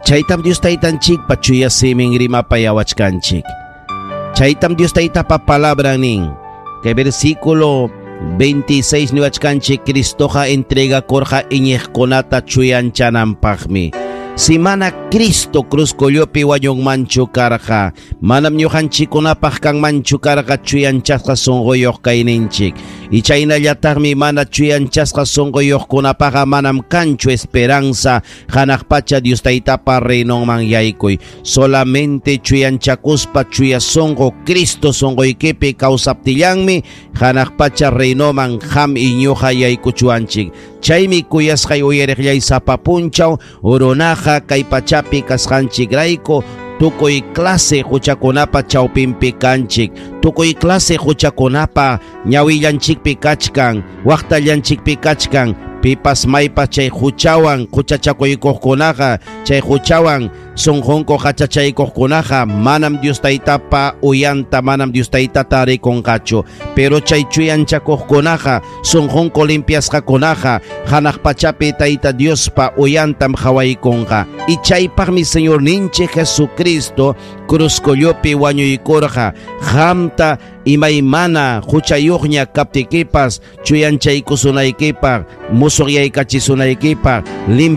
Chaytam Dios Taytanchikpa chuya simin rimapayawachkanchik. Chaytam Dios Taytapa palabra nin. Kay versículo 26 niwachkanchik Cristoqa entregakurqa iñiqkunata chuyanchananpaqmi. Si mana Cristo cruz kullupi wañunmanchu karqa, manam ñuqanchikkunapaq kanmanchu karqa chuyanchasqa sunquyuq kayninchik. Y chaynallataqmi mana chuyanchasqa sunquyuqkunapaqa manam kanchu esperanza hanaq pacha Dios Taytapa reinonman yaykuy. Solamente chuyanchakuspa chuya sunqu Cristo sunquykipi kawsaptillanmi hanaq pacha reinoman qam y ñuqa yaykuchuwanchik. Chaymi kuyasqay uyariqllay sapa punchaw runaqa kay pachapi kasqanchikrayku tukuy clase huchakunapa chawpinpi kanchik, tukuy clase huchakunapa ñawillanchikpi kachkan, waqtallanchikpi kachkan, pipas maypas chay huchawan huchachakuykuqkunaqa, chay huchawan sunqunku qachachaykuqkunaqa manam Dios Taytapa uyanta, manam Dios Taytata rikunqachu. Pero chay chuyanchakuqkunaqa, sunqunku limpiasqakunaqa, hanaq pachapi Tayta Diospa uyantam qhawaykunqa. Y chaypaqmi Señorninchik Jesucristo cruz kullupi wañuykurqa, qamta imaymana huchayuqña kaptikipas chuyanchaykusunaykipaq, musuqyaykachisunaykipaq,